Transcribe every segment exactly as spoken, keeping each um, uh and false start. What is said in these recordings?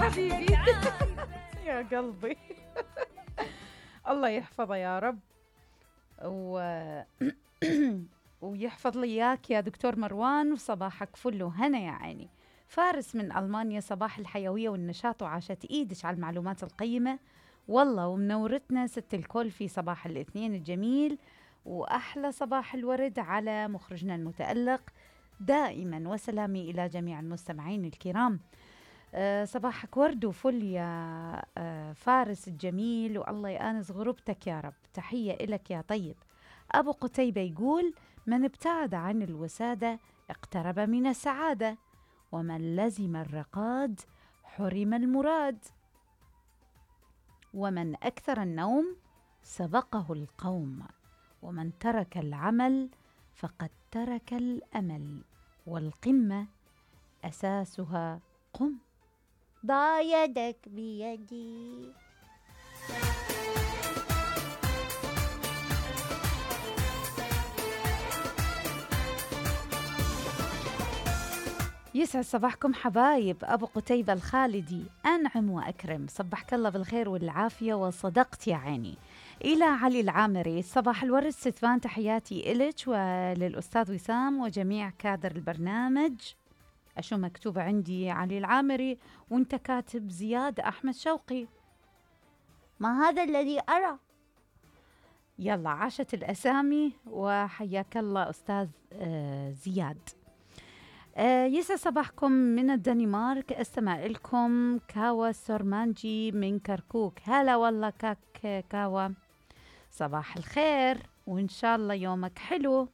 حبيبي يا قلبي. الله يحفظه يا رب و... ويحفظ لي إياك يا دكتور مروان، وصباحك فل وهنا يا عيني. فارس من ألمانيا، صباح الحيوية والنشاط وعاشت إيدش على المعلومات القيمة والله، ومنورتنا ست الكل في صباح الاثنين الجميل، وأحلى صباح الورد على مخرجنا المتألق. دائما وسلامي إلى جميع المستمعين الكرام. أه صباحك ورد وفل يا أه فارس الجميل، والله يآنس غربتك يا رب. تحية إلك يا طيب. أبو قتيبة يقول: من ابتعد عن الوسادة اقترب من السعادة، ومن لزم الرقاد حرم المراد، ومن أكثر النوم سبقه القوم، ومن ترك العمل فقد ترك الأمل، والقمة أساسها قم. ضع يدك بيدي. يسعد صباحكم حبايب. أبو قتيبة الخالدي: أنعم وأكرم، صبحك الله بالخير والعافية وصدقت يا عيني. إلى علي العامري: صباح الورد ستفان، تحياتي إلك وللأستاذ وسام وجميع كادر البرنامج. أشو مكتوب عندي علي العامري وانت كاتب زياد أحمد شوقي؟ ما هذا الذي أرى. يلا عاشت الأسامي وحياك الله أستاذ آه زياد. آه يسعد صباحكم من الدنمارك، استمع لكم كاوا سورمانجي من كركوك. هلا والله كاك كاوا، صباح الخير وإن شاء الله يومك حلو.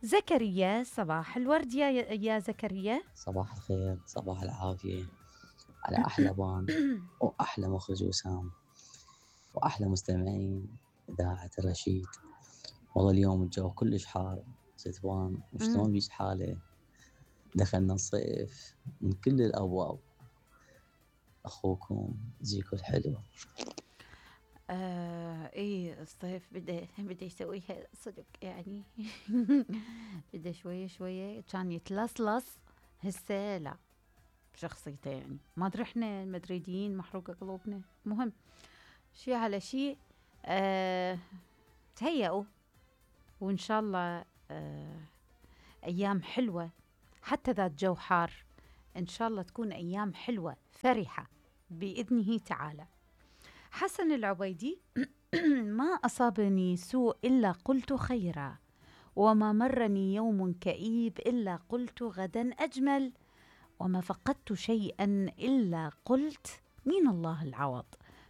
زكريا: صباح الورد يا يا زكريا. صباح الخير، صباح العافية على أحلى بان وأحلى مخرج وسام وأحلى مستمعين إذاعة الرشيد. والله اليوم الجو كلش حار ستوان، وشلون بيش حالة، دخلنا الصيف من كل الأبواب. أخوكم زيكو الحلو. آه ايه الصيف بده بده يسويها صدق يعني. بده شوية شوية كان يتلصلص، هسه لا شخصيته يعني ما ادري احنا المدريديين محروقة قلوبنا. مهم شي على شي. آه تهيئوا وان شاء الله آه ايام حلوة، حتى ذات جو حار ان شاء الله تكون ايام حلوة فرحة بإذنه تعالى. حسن العبيدي: ما أصابني سوء إلا قلت خيرا، وما مرني يوم كئيب إلا قلت غدا أجمل، وما فقدت شيئا إلا قلت من الله العوض،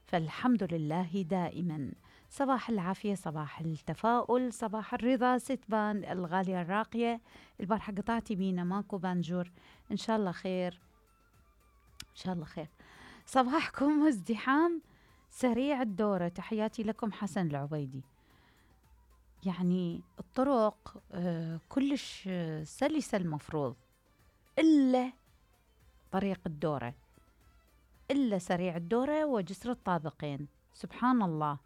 فالحمد لله دائما. صباح العافية، صباح التفاؤل، صباح الرضا. ستبان الغالية الراقية: البارحة قطعتي بينا ماكو بانجور، إن شاء الله خير إن شاء الله خير. صباحكم ازدحام سريع الدورة، تحياتي لكم. حسن العبيدي: يعني الطرق آه كلش آه سلسة المفروض، إلا طريق الدورة، إلا سريع الدورة وجسر الطابقين، سبحان الله.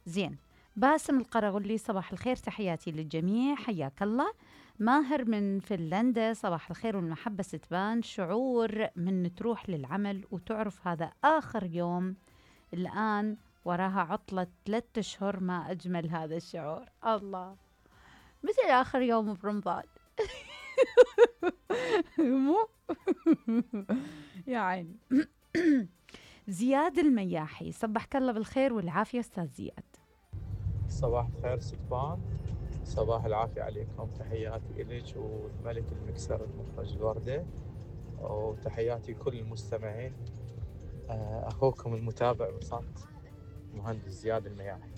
زين. باسم القرغلي: صباح الخير، تحياتي للجميع، حياك الله. ماهر من فنلندا: صباح الخير والمحبة ستبان، شعور من تروح للعمل وتعرف هذا آخر يوم، الآن وراها عطلة ثلاثة أشهر، ما أجمل هذا الشعور. الله، مثل آخر يوم برمضان. مو يا عيني. زياد المياحي: صبحك الله بالخير والعافية أستاذ زياد. صباح الخير ستبان، صباح العافية عليكم، تحياتي إليك والملك المكسر المخرج الوردة، وتحياتي لكل المستمعين. أخوكم المتابع بصمت مهندس زياد المياحي.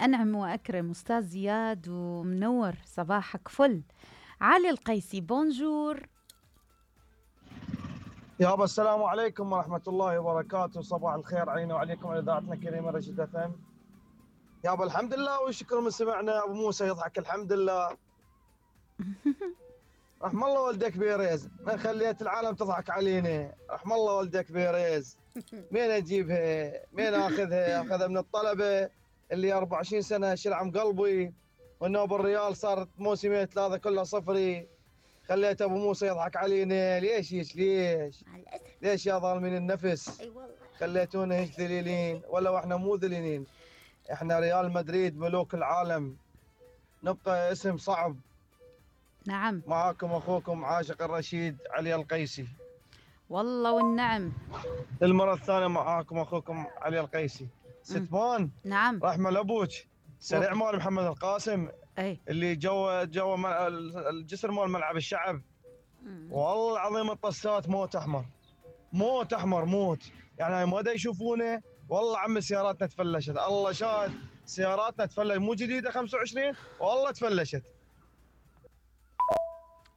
أنعم وأكرم أستاذ زياد ومنور، صباحك فل. علي القيسي: بونجور. يابا السلام عليكم ورحمة الله وبركاته، صباح الخير علينا وعليكم على إذاعتنا الكريمة رشيد اف ام. يابا الحمد لله والشكر من سمعنا. أبو موسى يضحك الحمد لله. رحم الله والدك بيريز، ما خليت العالم تضحك علينا. رحم الله والدك بيريز، مين أجيبها؟ مين أخذها؟ أخذها من الطلبة اللي أربع وعشرين سنة شلعم قلبي، والنوب الريال صارت موسمين ثلاثة كلها صفري. خليت ابو موسى يضحك علينا. ليش هيك ليش؟ مع الاسف. ليش يا ظالمين النفس؟ اي والله. خليتونا هيك ذليلين. ولا واحنا مو ذليلين، احنا ريال مدريد ملوك العالم، نبقى اسم صعب. نعم معاكم اخوكم عاشق الرشيد علي القيسي. والله والنعم. المرة الثانية معاكم اخوكم علي القيسي. ستمان نعم. رحمة لابوك. سريع مال محمد القاسم اي اللي جو جو م- الجسر مال ملعب الشعب. مم. والله العظيم الطسات موت احمر، موت احمر موت. يعني هاي ما دا يشوفونه. والله عم سياراتنا تفلشت، الله شاهد سياراتنا تفلشت، مو جديده خمسة وعشرين والله تفلشت.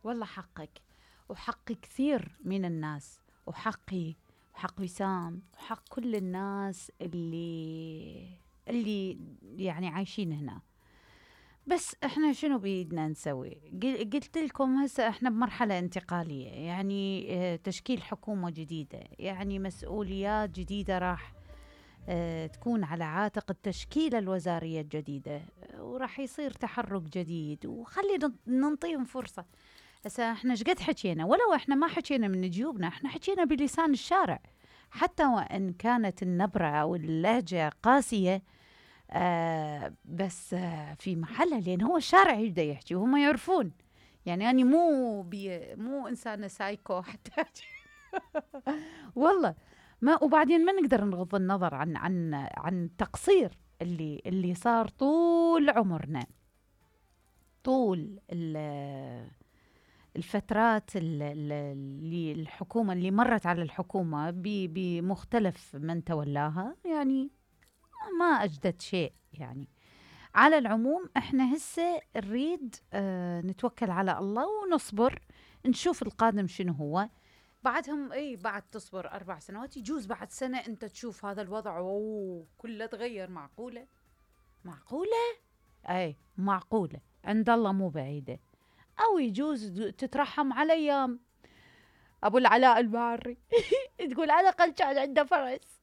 والله حقك وحق كثير من الناس، وحقي وحق وسام وحق كل الناس اللي اللي يعني عايشين هنا. بس احنا شنو بيدنا نسوي؟ قل- قلت لكم هسه احنا بمرحلة انتقالية، يعني اه، تشكيل حكومة جديدة، يعني مسؤوليات جديدة راح اه، تكون على عاتق التشكيلة الوزارية الجديدة، اه، وراح يصير تحرك جديد، وخلي ننطيهم فرصة. هسه احنا ايش قد حكينا، ولو احنا ما حكينا من جيوبنا، احنا حكينا بلسان الشارع، حتى وان كانت النبرة او اللهجة قاسية، آه بس آه في محلها، لان هو الشارع يبدا يحكي وهم يعرفون. يعني أنا مو بي مو إنسانة سايكو حتى والله ما. وبعدين ما نقدر نغض النظر عن عن عن التقصير اللي اللي صار طول عمرنا، طول الفترات اللي الحكومة اللي مرت على الحكومة بمختلف من تولاها، يعني ما أجدد شيء. يعني على العموم احنا هسه نريد اه نتوكل على الله ونصبر، نشوف القادم شنو هو. بعدهم اي بعد تصبر اربع سنوات، يجوز بعد سنة انت تشوف هذا الوضع اوه كله تغير. معقولة معقولة اي معقولة، عند الله مو بعيدة. او يجوز تترحم على ايام ابو العلاء الباري تقول على الاقل كان عنده فرس